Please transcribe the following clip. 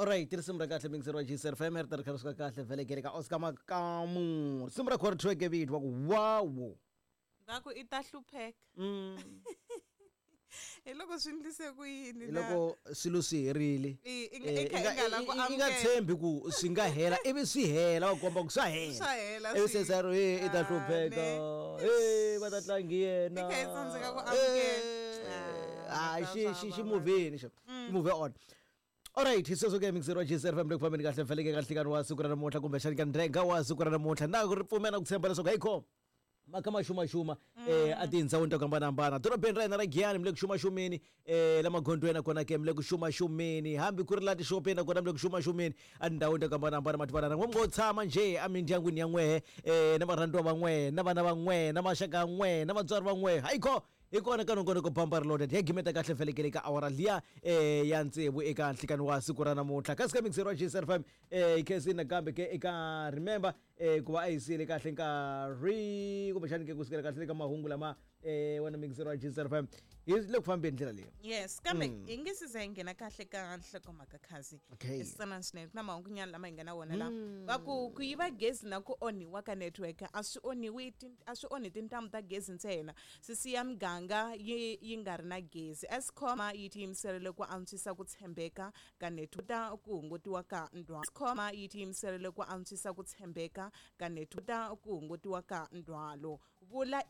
Alright, risimu ra kahle mingiseri wa GCR FM ri ta ri kha ri suka kahle vhele kele ka Oscar Makamu. Risimu ra khori track vito wa ku wow. Va ku i ta hlupheka. Hi loko swi ndlise ku yini Hi loko swilo swi herile. I nga i kha i nga la ku I nga amukela. tshembi ku swi nga hela ivi swi hela va komba ku swa hela. Swa hela Ivi swi. se sa ri i ta Ah, hlupheka. ne. Eh va ta tlangi yena. I kha i tsandzeka ku amukela. Ah, Ah, xi swa xi xi vava. movheni xo. Xi move on. Alright, hi sweswo ke mixer wa GCR FM le ku fambeni kahle feleke ka nhlikani wa siku ra namuntlha kumbexani ka ndhenga wa siku ra namuntlha na ku ri pfumela ku tshemba leswaku hey kho maka ma xumaxuma a tindhawini to hambanahambana dorobeni ra hina ra Giyani mi le ku xumaxumeni la magondzweni nakona ke mi le ku xumaxumeni hambi ku ri la tixopeni nakona mi le ku xumaxumeni a tindhawini to hambanahambana mativanana n'we mi ngo tshama njhe emindyangwini ya n'wehe na varhandziwa va n'wehe na vana va n'wehe na maxaka ya n'wehe na vatswari va n'wehe hayi kho hi kona ka nongonoko bamba ri loaded ya gimeta kahle felekele ka awara liya ya tsevu eka nhlikani wa siku ra namuntlha kasi ka mixer wa GCR FM hi khensini nakambe ke eka remember ku va a yi siyele kahle nkarhi kumbexani ke ku sukela kahle ka mahungu lama wena mixer wa GCR FM hi le ku fambeni ndlela leyi. Yes, kambe hi nge se za hi nghena kahle ka nhlokomhaka khazi. Okay. I switsanana swinene ku na mahungunyana lama hi nga na wona lawa va ku ku yiva gezi na ku onhiwa ka network a swi onhiwi a swi onhi tintambu ta gezi ntsena swi siya miganga yi yi nga ri na gezi. Eskom yi tiyimiserile ku antswisa ku tshembeka ka network ta ku hungutiwa ka ndhwalo. Eskom yi tiyimiserile ku antswisa ku tshembeka ka network ta ku hungutiwa ka ndhwalo. Vula.